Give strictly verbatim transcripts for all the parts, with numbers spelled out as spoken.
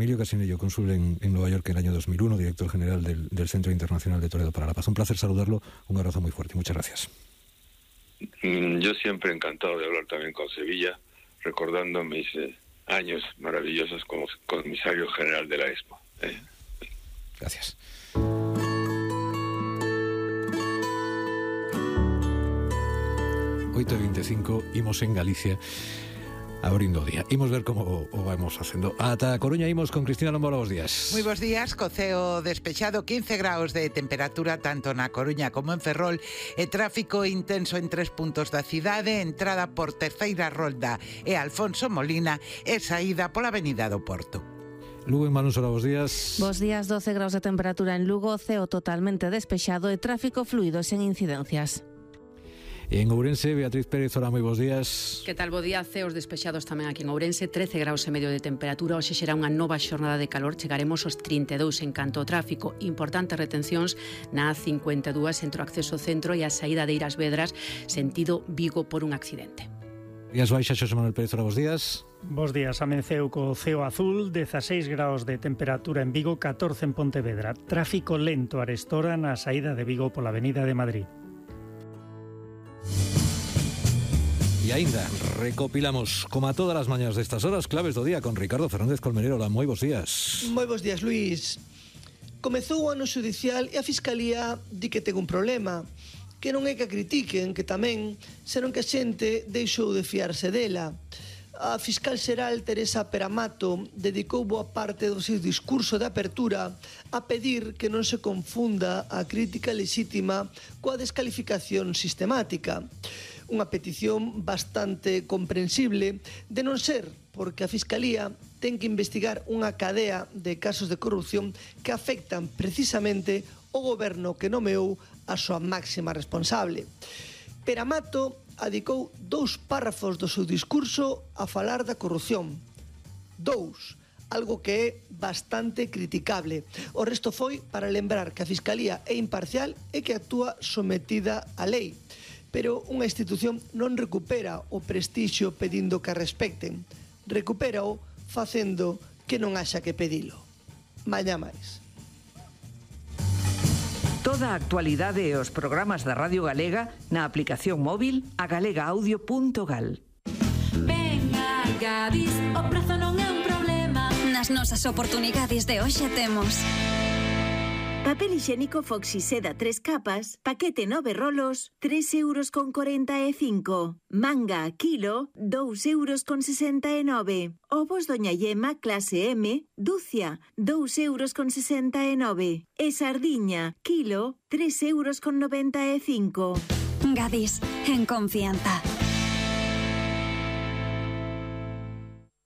Emilio Casinello, cónsul en, en Nueva York en el año dos mil uno, director general del, del Centro Internacional de Toledo para la Paz. Un placer saludarlo, un abrazo muy fuerte. Muchas gracias. Yo siempre encantado de hablar también con Sevilla, recordando mis eh, años maravillosos como comisario general de la Expo. Eh. Gracias. oito e veinticinco, imos en Galicia abrindo o día. Imos ver como o vamos facendo. Ata a Coruña imos con Cristina Lombora, bos días. Moi bos días, co ceo despexado, quince graus de temperatura tanto na Coruña como en Ferrol e tráfico intenso en tres puntos da cidade, entrada por Terceira Rolda e Alfonso Molina e saída pola avenida do Porto. Lugo en Manúsora, bos días. Bos días, doce graus de temperatura en Lugo, ceo totalmente despexado e tráfico fluido sen incidencias. En Ourense, Beatriz Pérez, hola, moi bos días. Que tal, bo día, ceos despexados tamén aquí en Ourense, trece graus e medio de temperatura, hoxe será unha nova xornada de calor, chegaremos aos trinta e dous en canto ao tráfico, importantes retencións na A cincuenta e dúas entre o acceso ao centro e a saída de Iras Vedras, sentido Vigo por un accidente. Días baixa, Xosé Manuel Pérez, hola, bos días. Bos días, amenceu co ceo azul, dezaseis graus de temperatura en Vigo, catorce en Pontevedra, tráfico lento arestora na saída de Vigo pola avenida de Madrid. E aínda recopilamos, como a todas as mañas destas horas, claves do día con Ricardo Fernández Colmenero. Hola, moi bos días. Moi bos días, Luís. Comezou o ano xudicial e a Fiscalía di que ten un problema, que non é que a critiquen, que tamén, senón que a xente deixou de fiarse dela. A fiscal xeral Teresa Peramato dedicou boa parte do seu discurso de apertura a pedir que non se confunda a crítica lexítima coa descalificación sistemática. Unha petición bastante comprensible, de non ser porque a Fiscalía ten que investigar unha cadea de casos de corrupción que afectan precisamente o goberno que nomeou a súa máxima responsable. Peramato adicou dous párrafos do seu discurso a falar da corrupción. Dous, algo que é bastante criticable. O resto foi para lembrar que a Fiscalía é imparcial e que actúa sometida á lei. Pero unha institución non recupera o prestixio pedindo que a respecten. Recupérao facendo que non haxa que pedilo. Mañá máis. Toda a actualidade e os programas da Radio Galega na aplicación móvil a galega audio punto gal. Venga, Gadis, o prezo non é un problema. Nas nosas oportunidades de hoxe temos papel higiénico Foxy Seda tres capas, paquete nove rolos, tres euros con corenta e cinco. Manga a kilo, dous euros con sesenta e nove. Ovos Doña Yema clase M, dúcia, dous euros con sesenta e nove. E sardiña, kilo, tres euros con noventa e cinco. Gadis, en confianza.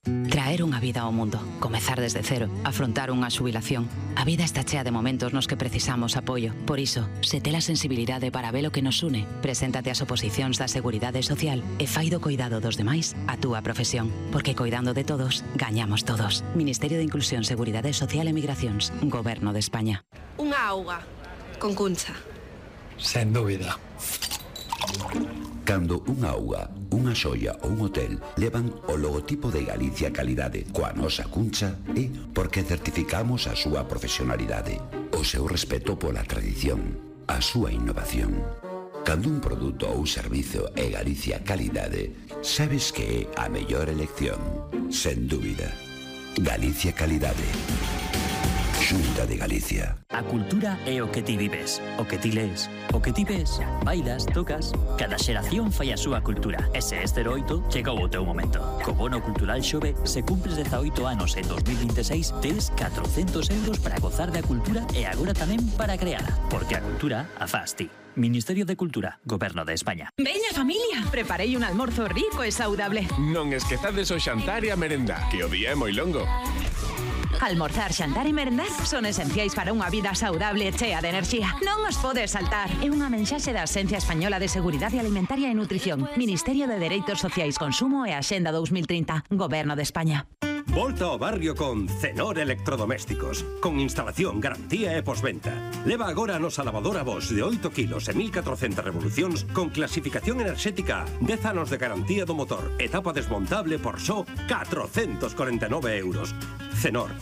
Traer unha vida ao mundo, comezar desde cero, afrontar unha xubilación. A vida está chea de momentos nos que precisamos apoio. Por iso, se tes a sensibilidade para ver o que nos une, preséntate ás oposicións da Seguridade Social e fai do coidado dos demais a túa profesión. Porque coidando de todos, gañamos todos. Ministerio de Inclusión, Seguridade Social e Migracións, Goberno de España. Unha auga, con cuncha. Sen dúbida. Cando unha auga, unha xoia ou un hotel levan o logotipo de Galicia Calidade coa nosa cuncha é porque certificamos a súa profesionalidade, o seu respeto pola tradición, a súa innovación. Cando un produto ou servizo é Galicia Calidade, sabes que é a mellor elección, sen dúbida. Galicia Calidade. Xunta de Galicia. A cultura é o que ti vives, o que ti lees, o que ti ves, bailas, tocas. Cada xeración fai a súa cultura. E se este oito, chegou o teu momento. Co bono cultural Xove, se cumpres dezaoito anos en dos mil veintiséis, tes catrocentos euros para gozar da cultura e agora tamén para creala. Porque a cultura a faz ti. Ministerio de Cultura, Goberno de España. Veña, familia, preparei un almorzo rico e saudable. Non esquezades o xantar e a merenda, que o día é moi longo. Almorzar, xantar e merendar son esenciais para unha vida saudable e chea de enerxía. Non os podes saltar. É unha mensaxe da Axencia Española de Seguridade Alimentaria e Nutrición, Ministerio de Dereitos Sociais, Consumo e Axenda dos mil trinta, Goberno de España. Volta ao barrio con Cenor Electrodomésticos, con instalación, garantía e posventa. Leva agora a nosa lavadora Bosch de oito kilos e mil catrocentas revolucións con clasificación enerxética, dez anos de garantía do motor, etapa desmontable por só catrocentos corenta e nove euros. Cenor,